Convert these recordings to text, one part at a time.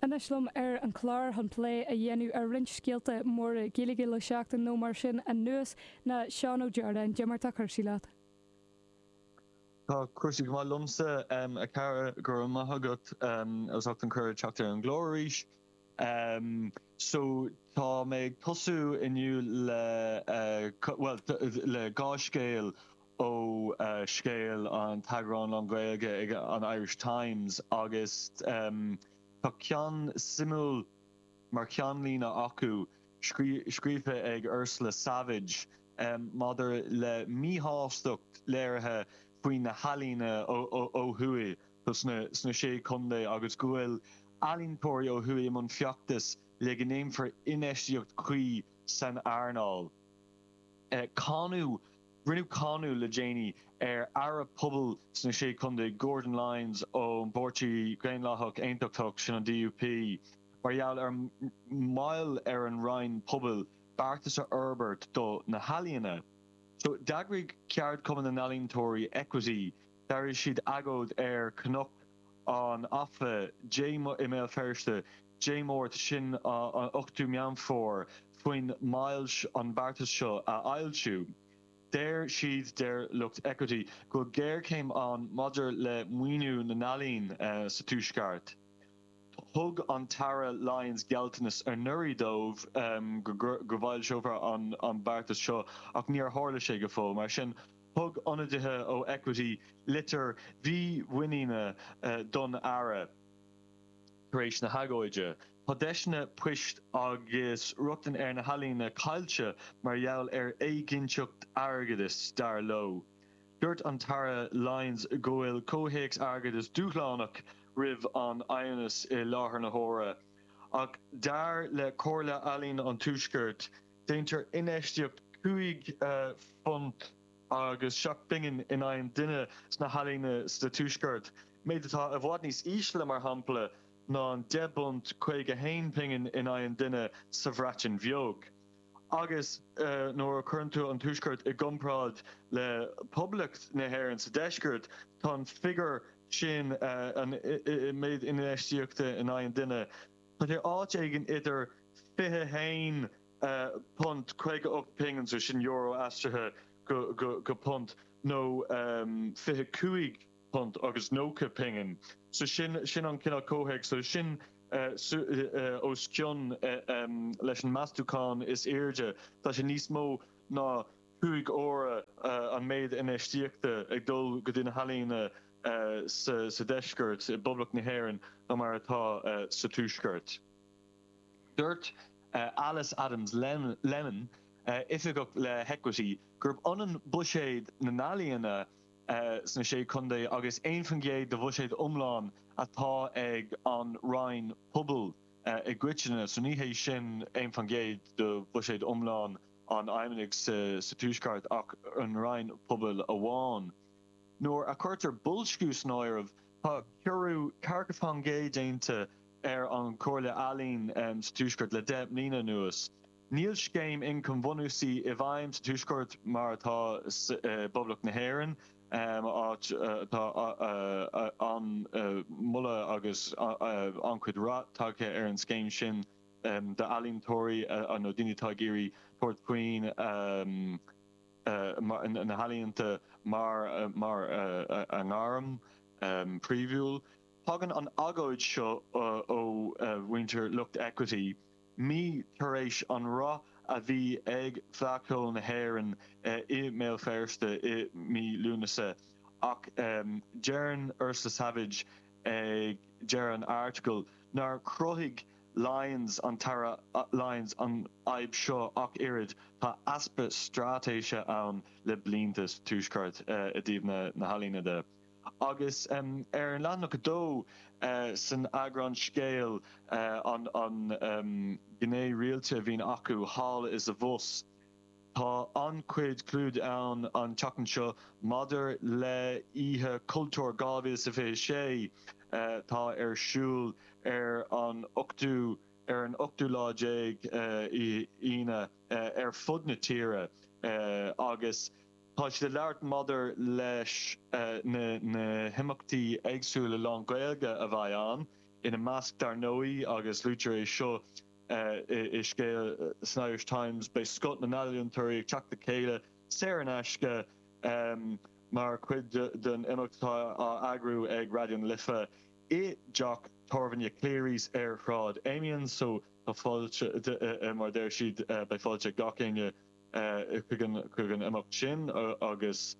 Anois liom ar an chlár chun plé a dhéanamh ar roinnt scéalta móra Gaeilge le seachtain nó mar sin anuas ná Seán Ó Deardáin. Cad é mar tá cúrsaí leat? Tá cúrsaí go maith liomsa, a chara, go raibh maith agat as ucht an cuireadh teacht ar an gclár arís. So, tá mé ag tosú inniu le, bhuel, le 2 scéal ó Scéal, an t-eagrán lán-Ghaeilge ag an Irish Times agus tá ceann suimiúil mar cheannlíne acu, scríofa ag Ursula Savage, maidir le míshástacht léirithe faoi na healaíona ó thuaidh sna Sé Chontae agus go bhfuil ealaíontóirí ó thuaidh i mbun feachtais le go ndéanfar infheistíocht chuí san earnáil. Cáineadh Rinneadh cáineadh le déanaí ar Aire Pobail sna Sé Chontae, Gordon Lyons ón bPáirtí Daonlathach Aontachtach, sin an DUP, mar gheall ar mhoill ar an Roinn Pobail beartas a fhorbairt do na healaíona. So, d'eagraigh Ceardchumann na nEalaíontóirí, Equity, d'eagraigh siad agóid ar Chnoc an Afa Dé i mBéal Feirste Dé Máirt, sin an 8ú Meán Fómhair, faoin moill an beartas seo a fhoilsiú. Deir siad, deir lucht Equity, go bhfuil géarchéim ann maidir le maoiniú na n-ealaíon sa Tuaisceart. Thug an tAire Lyons gealltanas anuraidh dóibh go bhfoilseofar an beartas seo ach níor tharla sé go fóill. Mar sin, thug ionadaithe ó Equity litir mhímhuiníne don Aire. Tar éis na hagóide, tá deiseanna poist agus rochtain ar na healaíona caillte mar gheall ar éiginnteacht airgeadais, dar leo. Dúirt an tAire Lyons go bhfuil comhthéacs airgeadais dúshlánach roimh an Fheidhmeannas i láthair na huaire. Ach dar le Comhairle Ealaíon an Tuaiscirt, déantar infheistíocht £5 agus 7 bpingin in aghaidh an duine sna healaíona sa Tuaisceart, méid atá i bhfad níos ísle, mar shampla, ná an £10 51 pingin in aghaidh an duine sa Bhreatain Bheag. Agus nuair a chuireann tú an Tuaisceart i gcomparáid le Poblacht na hÉireann sa Deisceart, tá an figiúr sin, an méid infheistíochta in aghaidh an duine, tá sé áit éigin idir 21 £58 pingin, so sin euro aistrithe go punt, nó £25 agus 90 pingin. So sin sin an cineál comhthéacs. So sin os cionn leis an meastúchán is airde. Tá sé níos mó ná 5 huaire an méid infheistíochta ag dul go dtí na healaíona sa deisceart, i bPoblacht na hÉireann, ná mar atá sa tuaisceart. Dúirt Alice Adams Lemon, oifigeach le hEquity, gurb ionann buiséad na n-ealaíona sna Sé Chontae agus 1% de bhuiséad iomlán atá ag an Roinn Pobail i gcoitinne, so ní hé sin 1% de bhuiséad iomlán an Fheidhmeannaigh sa Tuaisceart ach an Roinn Pobail amháin. Nuair a chuirtear boilsciú san áireamh, tá ciorrú 40% déanta ar an Chomhairle Ealaíon sa Tuaisceart le 10 mbliana anuas. Níl scéim ioncaim bhunúsaí i bhfeidhm sa Tuaisceart mar atá i bPoblacht na hÉireann, áit atá an-mholadh agus an-chuid rath tagtha ar an scéim sin d'ealaíontóirí nó daoine atá ag iarraidh tabhairt faoin na healaíonta mar a ngairm phríomhúil. Tagann an agóid seo ó mhuintir lucht Equity mí tar éis an rath a bhí ag Fleadh Cheoil na hÉireann i mBéal Feirste i mí Lúnasa ach deireann Ursula Savage ag deireadh an airticil nár chruthaigh Lyons, an tAire Lyons, an fhadhb seo ach oiread, tá easpa straitéise ann le blianta sa Tuaisceart i dtaobh na healaíona de. Agus ar an leathanach 2 san eagrán Scéal, an ghné rialta a bhíonn acu thall is abhus, tá an-chuid clúdaigh ann an tseachtain seo maidir le Oíche Chultúir 2026 atá ar siúl ar an ochtú ar an ochtú lá déag Aoine ar fud na tíre agus tá siad ag labhairt maidir leis na himeachtaí éagsúla lán-Ghaeilge a bheidh ann. Ina measc, dar ndóigh, agus luaitear é seo i scéal san Irish Times, beidh scoth na n-ealaíontóirí ag teacht le chéile saor in aisce mar chuid den imeacht atá á eagrú ag Raidió na Life i dteach tábhairne Cleary's ar Shráid Amiens. So tá fáilte, mar a deir siad, beidh fáilte ag gach éinne chuig an imeacht sin agus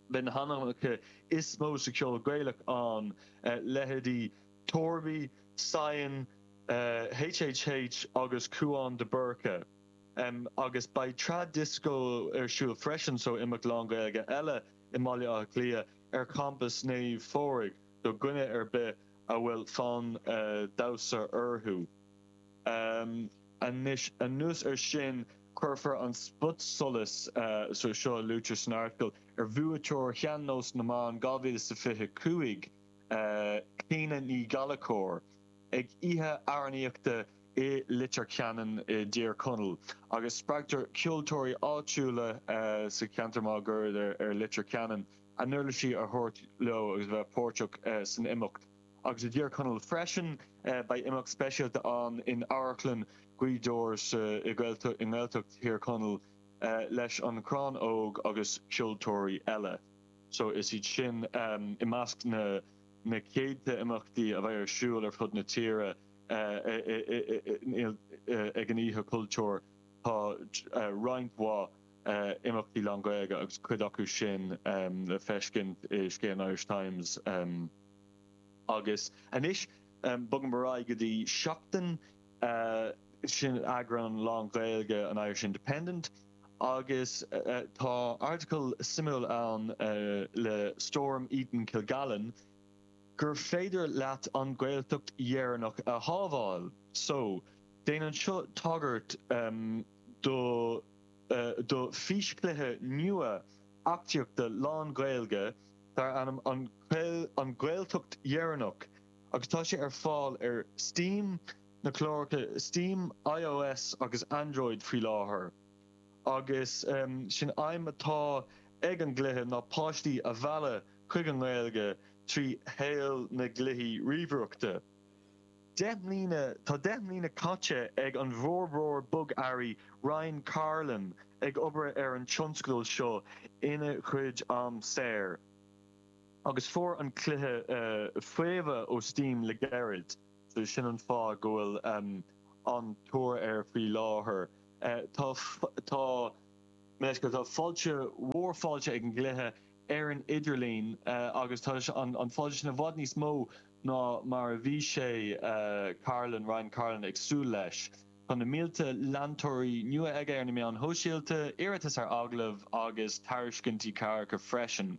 beidh na hainmneacha is mó sa cheol Gaelach ann, leithéidí Torby, Saighean, HHH agus Cúán de Búrca. Agus beidh Trad Disco ar siúl freisin, so imeacht lán-Ghaeilge eile i mBaile Átha Cliath ar champas Naomh Phádraig do dhuine ar bith a bhfuil fonn damhsa orthu. Anois, anuas ar sin, cuirfear an spotsolas, so seo a luaitear san article, ar bhuaiteoir Shean-Nós na mBan 2025, Clíona Ní Ghallchóir, ag oíche amhránaíochta i Leitir Ceanainn i dTír Chonaill, agus spreagtar ceoltóirí áitiúla sa cheantar máguaird ar Leitir Ceanainn a n-uirlisí a thabhairt leo agus a bheith páirteach san imeacht. Agus i dTír Chonaill freisin, beidh imeacht speisialta ann in Amharclann Ghaoth Dobhair sa i nGaeltacht Thír Chonaill leis An Crann Óg agus ceoltóirí eile. So is iad sin i measc na na céadta imeachtaí a bheidh ar siúl ar fud na tíre ag an Oíche Chultúir. Tá roinnt mhaith imeachtaí lán-Ghaeilge agus cuid acu sin le feiscint i scéal an Irish Times. Agus anois, bogaim ar aghaidh go dtí Seachtain, sin eagrán lán-Ghaeilge an Irish Independent, agus tá article suimiúil ann le Storm Eaton Kilgallen gur féidir leat an Ghaeltacht dheireanach a shábháil. So, déanann seo tagairt do do físchluiche nua eachtraíochta lán-Ghaeilge dar ainm An Ghaeltacht Dheireanach agus tá sé ar fáil ar Steam, na cláracha Steam, iOS agus Android faoi láthair. Agus sin aidhm atá ag an gcluiche ná páistí a mhealladh chuig an nGaeilge trí shaol na gcluichí ríomhaireachta. 10 mbliana Tá 10 mbliana caite ag an bhforbróir bogearraí Ryan Carlin ag obair ar an tionscadal seo ina chuid am saor, agus fuair an cluiche faomhadh ó Steam le gairid, so sin an fáth go bhfuil an-tóir air faoi láthair. Tá tá tá fáilte mhór fáilte ag an gcluiche ar an idirlíon agus tá an fáilte sin i bhfad níos mó ná mar a bhí sé, Carlin, Ryan Carlin, ag súil leis. Tá na mílte leantóirí nua aige ar na meáin shóisialta, iarratais ar agallamh agus tairiscintí cabhrach freisin.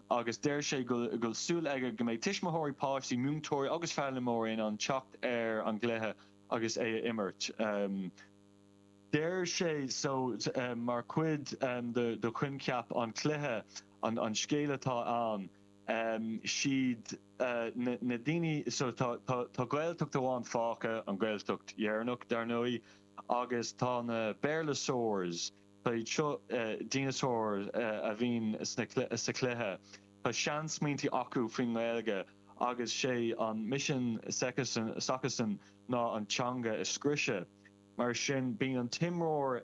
Agus deir sé go bhfuil súil aige go mbeidh tuismitheoirí, páistí, múinteoirí agus foghlaimeoirí in ann teacht ar an gcluiche agus é a imirt. Deir sé so mar chuid de choincheap an chluiche, an scéal atá ann, siad na daoine so tá tá Gaeltacht amháin fágtha, an Ghaeltacht dheireanach dar ndóigh, agus tá na Béarlasaurs, tá iad seo dineasáir a bhíonn sna sa chluiche, tá seansmaointí acu faoin nGaeilge agus sé an misean s'acusan ná an teanga a scriosadh. Mar sin bíonn an t-imreoir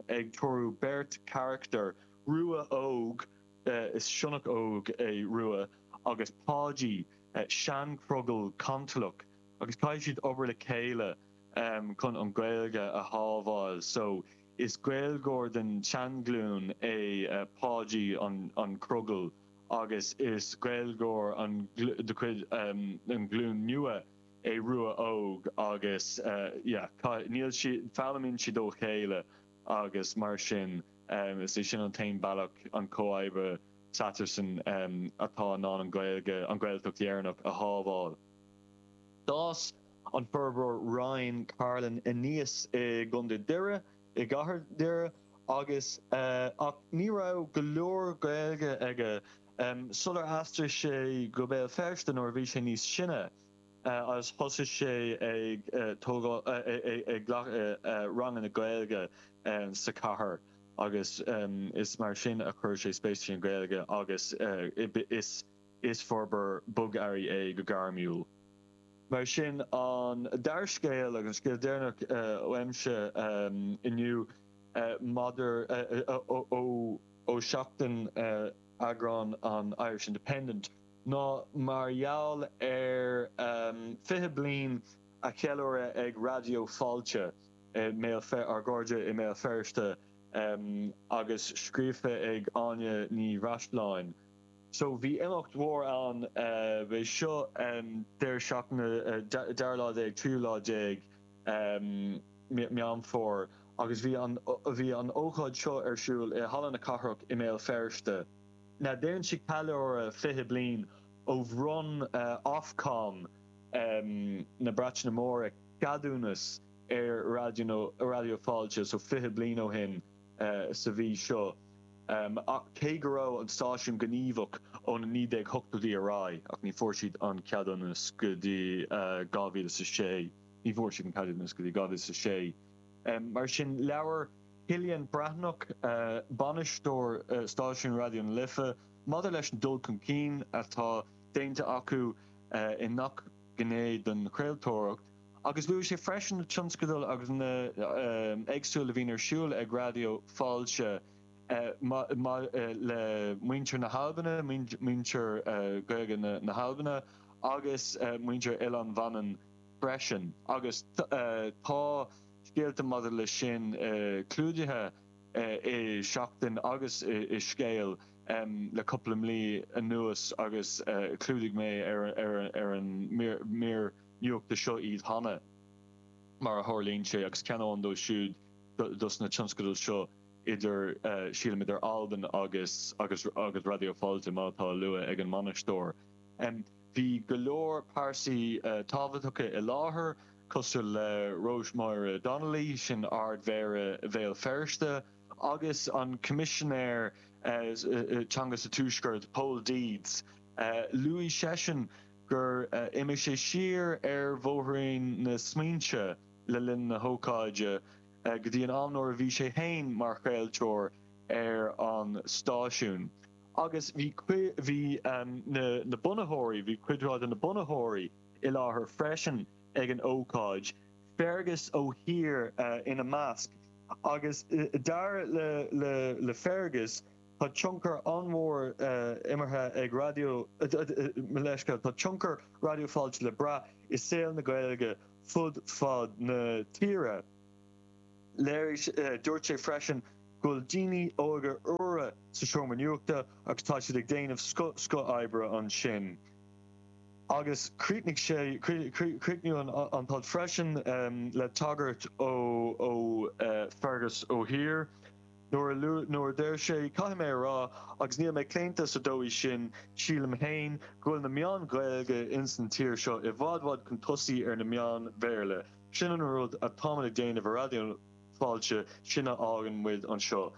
ag treorú beirt charachtar, Rua Óg, Is sionnach óg é Rua agus Páidí, seanchrogall cantalach, agus caithfidh siad obair le chéile chun an Ghaeilge a shábháil. So, is Gaeilgeoir den tseanghlúin é Páidí an crogall agus is Gaeilgeoir de chuid an ghlúin nua é Rua Óg agus yeah, níl siad, foghlaimíonn siad ó chéile agus mar sin. Is é sin an t-aon bealach, an comhoibriú s'eatarthusan atá in ann an Ghaeilge, an Ghaeltacht dheireanach, a shábháil. D'fhás an forbróir Ryan Carlin aníos i gContae Doire, i gcathair Dhoire, agus ach ní raibh go leor Gaeilge aige sular aistrigh sé go Béal Feirste nuair a bhí sé níos sine. agus thosaigh sé ag tógáil, ag glacadh ranganna Gaeilge sa chathair agus is mar sin a chuir sé spéis sa Ghaeilge agus is is forbróir bogearraí é go gairmiúil. Mar sin, an dara scéal agus an scéal deireanach uaimse inniu maidir ó Seachtain eagrán an Irish Independent ná mar gheall ar 20 bliain a cheiliúradh ag Raidió Fáilte i mBéal ár gcairde i mBéal Feirste agus scríofa ag Áine Ní Bhreisleáin. So bhí imeacht mhór ann, b'é seo deireadh seachtaine, dara lá déag, tríú lá déag Meán Fómhair agus bhí an, bhí an ócáid seo ar siúl i Halla na Cathrach i mBéal Feirste. Now déanann siad ceiliúradh 20 bliain ó bhronn Ofcom na Breataine Móire ceadúnas ar Raidió Fáilte, so 20 bliain ó shin sa mhí seo. Ach cé go raibh an stáisiún gníomhach ó na 1980idí ar aghaidh, ach ní fuair siad an ceadúnas go dtí 2006. Ní bhfuair siad an ceadúnas go dtí 2006. Mar sin, labhair Cillian Breathnach, bainisteoir stáisiún Raidió na Life, maidir leis an dul chun cinn atá déanta acu i ngach gné den chraoltóireacht, agus luaigh sé freisin na tionscadail agus na éagsúil a bhíonn ar siúl ag Raidió Fáilte le muintir na hAlban, muintir Gaeilge na hAlban agus muintir Oileán Mhanann freisin. Agus tá scéalta maidir leis sin clúdaithe i Seachtain agus i Scéal le cúpla mí anuas agus chlúdaigh mé ar an mír nuachta seo iad cheana, mar a tharlaíonn sé, agus ceann amháin dóibh siúd dos na tionscadail seo idir, sílim, idir Albain agus agus agus Raidió Fáilte, má tá á lua ag an mbainisteoir. Bhí go leor pearsaí tábhachtacha i láthair, cosúil le Róis-Máire Donnelly, sin Ard-Mhéara Bhéal Feirste, agus an Coimisinéir Teanga sa Tuaisceart, Pól Deeds. Luaigh seisean gur imigh sé siar ar bhóithrín na smaointe le linn na hócáide go dtí an am nuair a bhí sé féin mar chraoltóir ar an stáisiún. Agus bhí bhí na bunaitheoirí, bhí cuid mhaith de na bunaitheoirí i láthair freisin ag an ócáid, Fergus Ó hÍr ina measc. Agus dar le Fergus, Tá tionchar an-mhór imeartha ag Raidió, mo leithscéal, tá tionchar Raidió Fáilte le brath i saol na Gaeilge fud fad na tíre. Léirigh, dúirt sé freisin go bhfuil daoine óga úra sa seomra nuachta agus tá siad ag déanamh scoth, scoth oibre ansin. Agus chríochnaigh sé, chríochnaíodh an t-alt freisin le tagairt ó Fergus Ó hÍr. Nuair nuair a deir sé, caithfidh mé a rá, agus níl mé claonta sa dóigh sin, sílim fhéin, go bhfuil na meáin Ghaeilge ins an tír seo i bhfad bhfad chun tosaigh ar na meáin Bhéarla. Sin an rud atáimid ag déanamh i Raidió Fáilte, sin a fhágann muid anseo,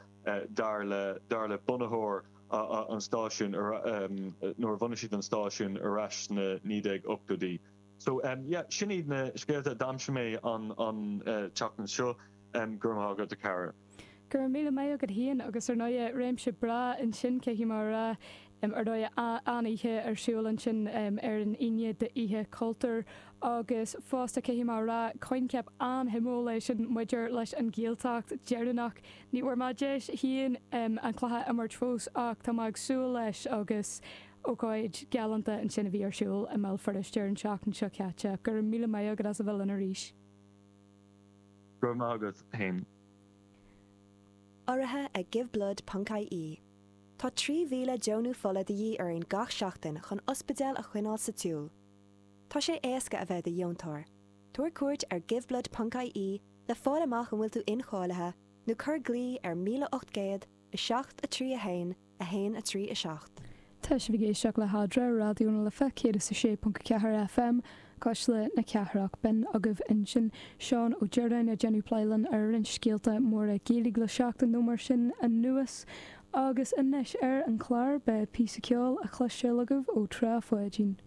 dar le dar le bunaitheoir an stáisiúin nuair a bhunaigh siad an stáisiún ar ais sna 1980idí. So, yeah, sin iad na scéalta a d'aimsigh mé an an tseachtain seo. Go raibh maith agat, a chara. Go raibh míle maith agat féin agus ar ndóigh réimse breá ansin caithfidh mé a rá. Ar ndóigh an-oíche ar siúl ansin ar an Aoine d'Oíche Chultúir agus fosta caithfidh mé a rá coincheap an-shuimiúil é sin maidir leis an Ghaeltacht deireanach. Ní bhfuair mé deis féin an cluiche a imirt fós ach tá mé ag súil leis agus ócáid galánta ansin a bhí ar siúl i mBéal Feirste ar an tseachtain seo caite. Go raibh míle maith agat as a bheith linn arís. Go raibh maith agat fhéin. Urraithe ag Giveblood ponc ie. Tá 3,000 deonú fola de dhíth orainn gach seachtain chun ospidéil a choinneáil sa tsiúl. Tá sé éasca a bheith i do dheontóir. Tabhair cuairt ar Giveblood ponc ie le fáil amach an bhfuil tú incháilithe nó cuir glao ar 1800 7 3 1 1 3 7. Tá sibh ag éisteacht le hEadra, Raidió na Life 106.4 FM, Cuisle na Cathrach. B'in agaibh ansin Seán Ó Direáin ag déanamh plé linn ar roinnt scéalta móra Gaeilge le seachtain nó mar sin anuas. Agus anois ar an chlár beidh píosa ceoil á chloisteáil agaibh ó Trá Pháidín.